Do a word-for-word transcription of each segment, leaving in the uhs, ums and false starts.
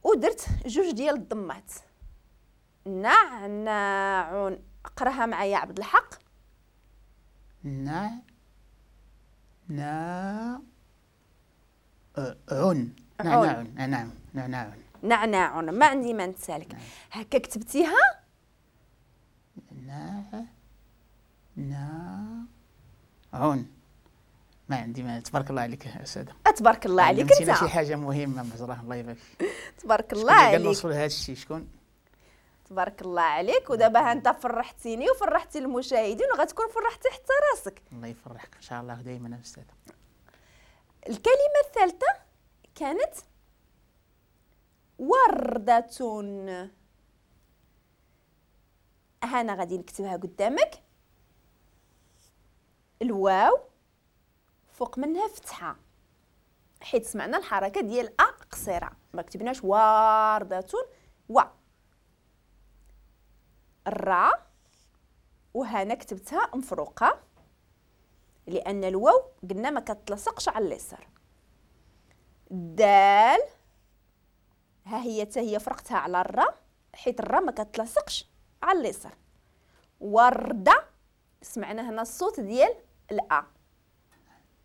ودرت جوج ديال الضمات. نعناع، اقراها معايا عبد الحق. نع نا عن نعناع نعناع نعناع نعناع. ما عندي ما نتسالك. نعم. هكا كتبتيها نا نا عن. ما عندي ما. تبارك الله عليك استاذه. تبارك الله عليك. انت شي حاجة مهمة مزرعة، الله يبارك. تبارك الله عليك. نوصل لهذا الشيء شكون؟ تبارك الله عليك. ودابا انت فرحتيني وفرحتي المشاهدين وغتكون فرحتي حتى راسك. الله يفرحك ان شاء الله دائما استاذه. الكلمة الثالثة كانت وردة. هانا غادي نكتبها قدامك. الواو فوق منها فتحه، حيت سمعنا الحركة ديال ا قصيرة، ما كتبناش وردة. و الرا وهنا كتبتها مفروقه لان الواو قلنا ما كتلصقش على اليسار. دال ها هي حتى هي فرقتها على الرا حيت الرا ما كتلصقش على اليسار. ورده سمعنا هنا الصوت ديال الا،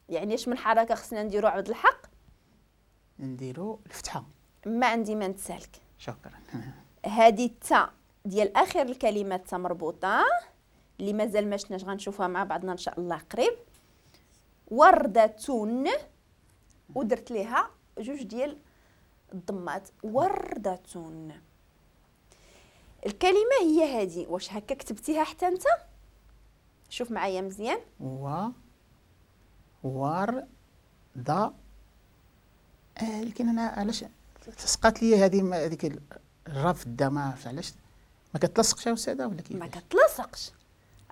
يعني اش من حركة خصنا نديرو عبد الحق؟ نديرو الفتحة. ما عندي ما نتسالك. شكرا. هذه التا ديال اخر الكلمات تا مربوطة اللي مازال ما شفناش، غنشوفها مع بعضنا ان شاء الله قريب. وردة ودرت ليها جوج ديال الضمات. وردة. الكلمة هي هذه، واش هكا كتبتيها حتى انت؟ شوف معايا مزيان. و ور دا آه، لكن انا علاش تسقات لي هذه هذيك الرا في الدا، ما عرفتش علاش ما كتلصقش يا استاذه ولا كيفاش؟ ما كتلصقش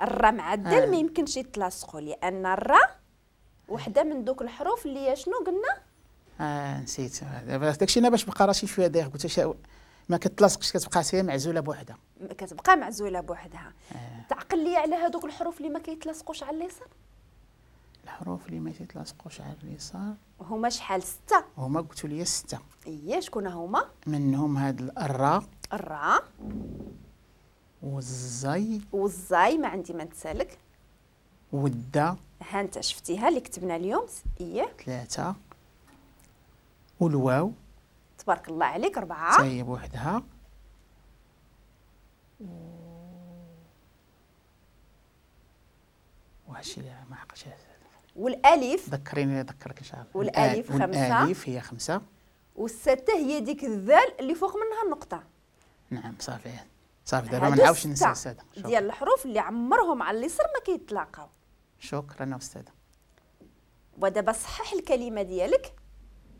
الرا مع الدال. آه. ما يمكنش يتلاصقوا لان الرا وحده من دوك الحروف اللي شنو قلنا؟ اه نسيت دابا داكشي انا باش بقى راسي شوية دايخ، قلت ما كتلاصقش كتبقى هي معزولة بوحدها. كتبقى معزولة بوحدها. آه. تعقل لي على هذوك الحروف اللي ما كيتلاصقوش على اليسار؟ الحروف اللي ما تيتلاصقوش على اليسار هما شحال؟ ستة. هما قلتوا لي ستة. ايه شكون هما؟ منهم هاد الراء الراء والزاي والزاي ما عندي ما نتسالك، والدا ها انت شفتيها اللي كتبنا اليوم. ايه ثلاثة، والواو تبارك الله عليك أربعة حتى هي بوحدها، وهادشي اللي ما عقلتش. والالف ذكريني نذكرك ان شاء الله. والالف خمسة. والالف هي خمسة، والستة هي ديك الذال اللي فوق منها النقطة. نعم صافي صافي دابا ما نعاودش ننسى السادة ديال الحروف اللي عمرهم على اليسار ما كيتلاقاو. شكرا استاذه. ودابا صحح الكلمة ديالك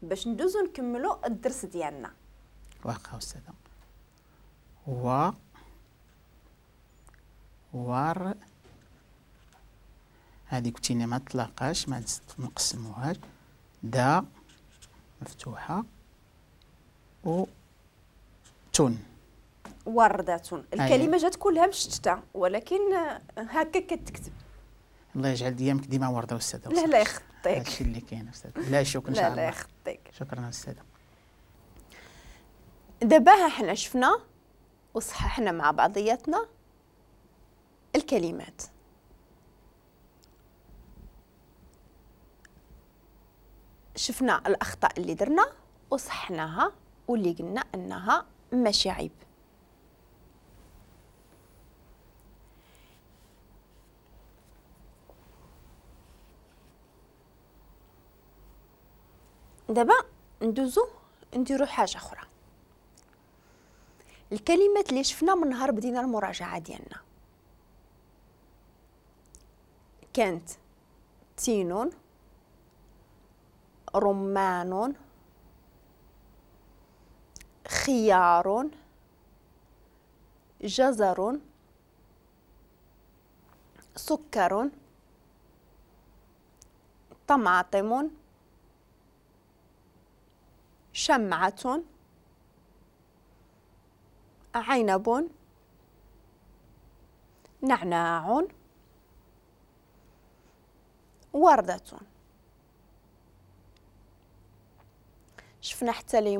باش ندوزو نكملو الدرس ديالنا. واخا استاذه. و ور هذه قلتينا ما تلاقاش ما نقسموهاش، دا مفتوحة و تون وردة. الكلمة جات كلها مشتتة ولكن هكا كتكتب. الله يجعل ديامك ديما ورده استاذه. لا لا يخطيك. هادشي اللي كاين استاذ. لا شكرا ان شاء الله. لا لا يخطيك. شكرا استاذه. دابا ها حنا شفنا وصححنا مع بعضياتنا الكلمات. شفنا الأخطاء اللي درنا وصحناها واللي قلنا أنها ماشي عيب. دابا ندوزو نديرو حاجة أخرى. الكلمات اللي شفنا من نهار بدينا المراجعة ديالنا كانت تينون، رمان، خيار، جزر، سكر، طماطم، شمعة، عنب، نعناع، وردة. شفنا حتى